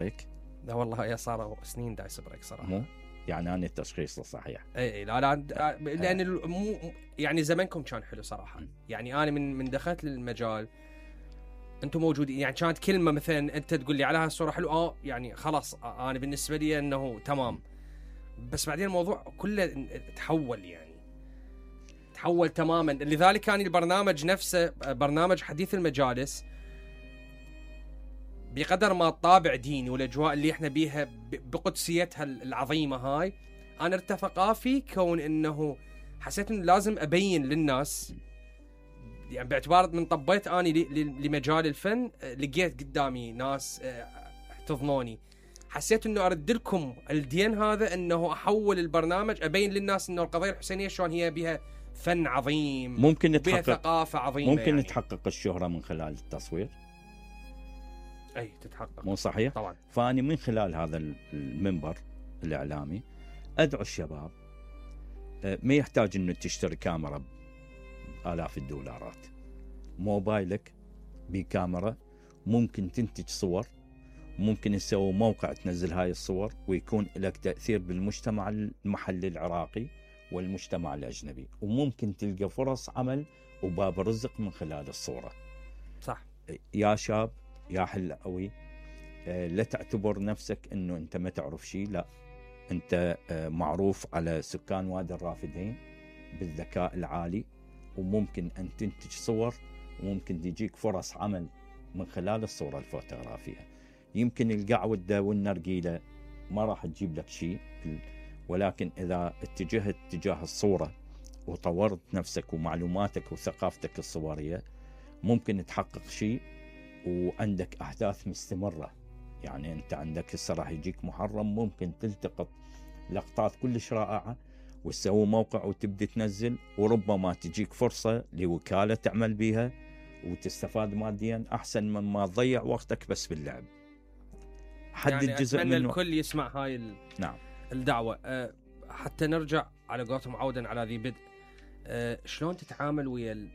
هيك؟ لا والله يا صار سنين دايس بريك صراحه. مو يعني انا التشخيص صحيح. اي لا لان مو يعني زمنكم كان حلو صراحه. يعني انا من دخلت للمجال انتم موجودين، يعني كانت كلمه مثلا انت تقول لي على هالصوره حلو يعني خلاص انا بالنسبه لي انه تمام. بس بعدين الموضوع كله تحول، يعني تحول تماما. لذلك كان البرنامج نفسه برنامج حديث المجالس بقدر ما الطابع ديني والاجواء اللي احنا بيها بقدسيتها العظيمه هاي، انا ارتفقا في كون انه حسيت انه لازم ابين للناس، يعني باعتبار من طبيت اني لمجال الفن لقيت قدامي ناس احتضنوني، حسيت انه ارد لكم الدين هذا، انه احول البرنامج ابين للناس انه القضيه الحسينيه شلون هي بها فن عظيم، ممكن بها ثقافه عظيمه، ممكن يعني تحقق الشهره من خلال التصوير. اي تتحقق، مو صحيح؟ طبعا. فاني من خلال هذا المنبر الاعلامي ادعو الشباب، ما يحتاج انه تشتري كاميرا آلاف الدولارات، موبايلك بكاميرا ممكن تنتج صور، ممكن تسوي موقع تنزل هاي الصور ويكون لك تأثير بالمجتمع المحلي العراقي والمجتمع الأجنبي، وممكن تلقى فرص عمل وباب رزق من خلال الصورة. صح يا شاب يا حلاوي، لا تعتبر نفسك انه انت ما تعرف شيء، لا انت معروف على سكان وادي الرافدين بالذكاء العالي، وممكن ان تنتج صور وممكن تجيك فرص عمل من خلال الصورة الفوتوغرافية. يمكن القعودة والنرجيلة ما راح تجيب لك شيء، ولكن اذا اتجهت تجاه الصورة وطورت نفسك ومعلوماتك وثقافتك الصورية ممكن تحقق شيء، وعندك أحداث مستمرة. يعني أنت عندك هسه راح يجيك محرم، ممكن تلتقط لقطات كلش رائعة وتسوي موقع وتبدي تنزل، وربما تجيك فرصة لوكالة تعمل بيها وتستفاد ماديا أحسن مما تضيع وقتك بس باللعب. حدد يعني جزء منه. الكل يسمع هاي نعم الدعوة. حتى نرجع على قولتهم عودا على ذي بدء. شلون تتعامل ويا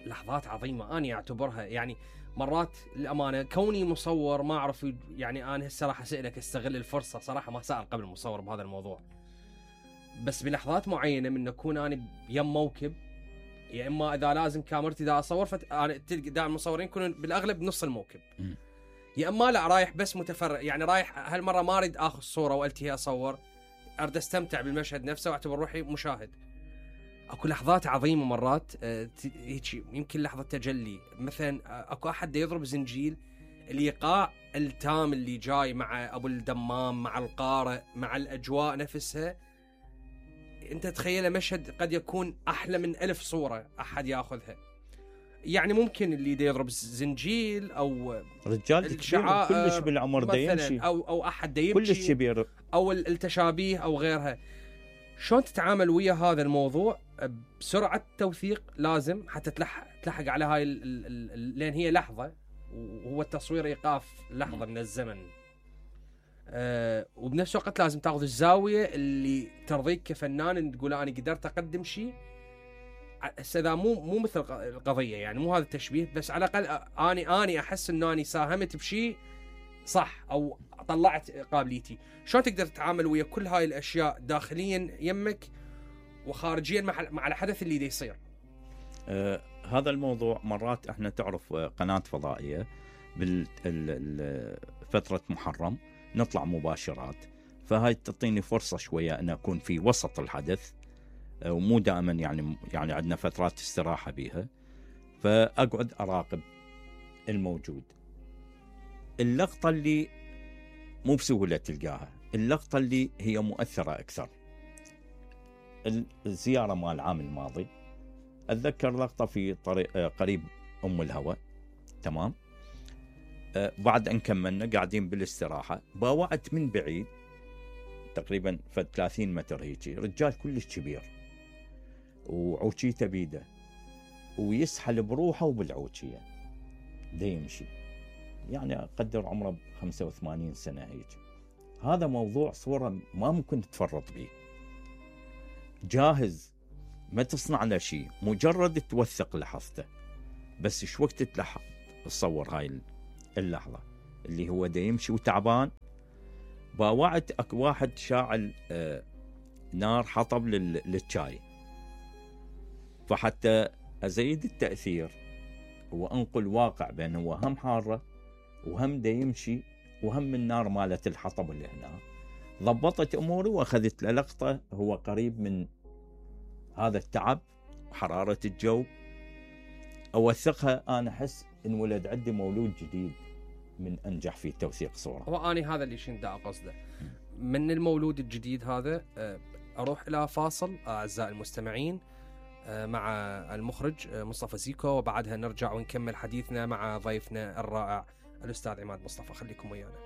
لحظات عظيمة أنا أعتبرها، يعني مرات الأمانة كوني مصور ما أعرف، يعني أنا هسه راح أسألك استغل الفرصة، صراحة ما سأل قبل مصور بهذا الموضوع، بس بلحظات معينة من أكون أنا يم موكب، يا إما إذا لازم كاميرتي دا أصور أنا تلقى دائما المصورين يكونون بالأغلب نص الموكب، يا إما لا رايح بس متفرج، يعني رايح هالمرة ما أريد آخذ صورة وألتهي أصور، أريد أستمتع بالمشهد نفسه وأعتبر روحي مشاهد. اكو لحظات عظيمه مرات هيك، يمكن لحظه تجلي مثلا اكو احد يضرب زنجيل، الايقاع التام اللي جاي مع ابو الدمام مع القارئ مع الاجواء نفسها، انت تخيل مشهد قد يكون احلى من 1000 صوره احد ياخذها. يعني ممكن اللي دا يضرب زنجيل او رجال كبير كلش بالعمر دا يمشي، او احد دا يمشي كلش كبير، او التشابيه او غيرها. شلون تتعامل ويا هذا الموضوع بسرعة توثيق لازم حتى تلحق على هاي لأن هي لحظة، وهو التصوير إيقاف لحظة من الزمن، وبنفس الوقت لازم تأخذ الزاوية اللي ترضيك كفنان، تقول أنا قدرت أقدم شيء. إذا مو مثل القضية، يعني مو هذا التشبيه، بس على الأقل أنا أحس إنه أنا ساهمت بشيء صح أو طلعت قابليتي. شلون تقدر تتعامل ويا كل هاي الأشياء داخليا يمك وخارجيا مع الحدث اللي يصير؟ هذا الموضوع مرات احنا تعرف قناة فضائية بالفترة محرم نطلع مباشرات، فهاي تعطيني فرصة شوية أن أكون في وسط الحدث، ومو دائما يعني عندنا فترات استراحة بيها، فأقعد أراقب الموجود. اللقطة اللي مو بسهولة تلقاها، اللقطة اللي هي مؤثرة أكثر، الزيارة مال العام الماضي أتذكر لقطة في طريق قريب أم الهوى، تمام، بعد أن كملنا قاعدين بالاستراحة، باوعت من بعيد تقريبا 30 متر هيجي رجال كلش كبير وعوشيته بيده ويسحل بروحه وبالعوشية دا يمشي، يعني أقدر عمره 85 سنة هيك. هذا موضوع صورة ما ممكن تفرط به، جاهز ما تصنع له شيء، مجرد توثق لحظته بس. شو وقت تلحق تصور هاي اللحظة؟ اللي هو دا يمشي وتعبان، باوعت اكو واحد شاعل نار حطب للشاي، فحتى ازيد التاثير وانقل واقع بين هو هم حاره وهم دا يمشي وهم النار مالت الحطب اللي هنا، ضبطت اموري واخذت له لقطه هو قريب من هذا التعب وحراره الجو، اوثقها. انا احس ان ولد عندي مولود جديد من انجح في توثيق صوره. واني هذا اللي شنت اقصده من المولود الجديد هذا. اروح الى فاصل اعزائي المستمعين مع المخرج مصطفى زيكو، وبعدها نرجع ونكمل حديثنا مع ضيفنا الرائع الاستاذ عماد مصطفى. خليكم ويانا.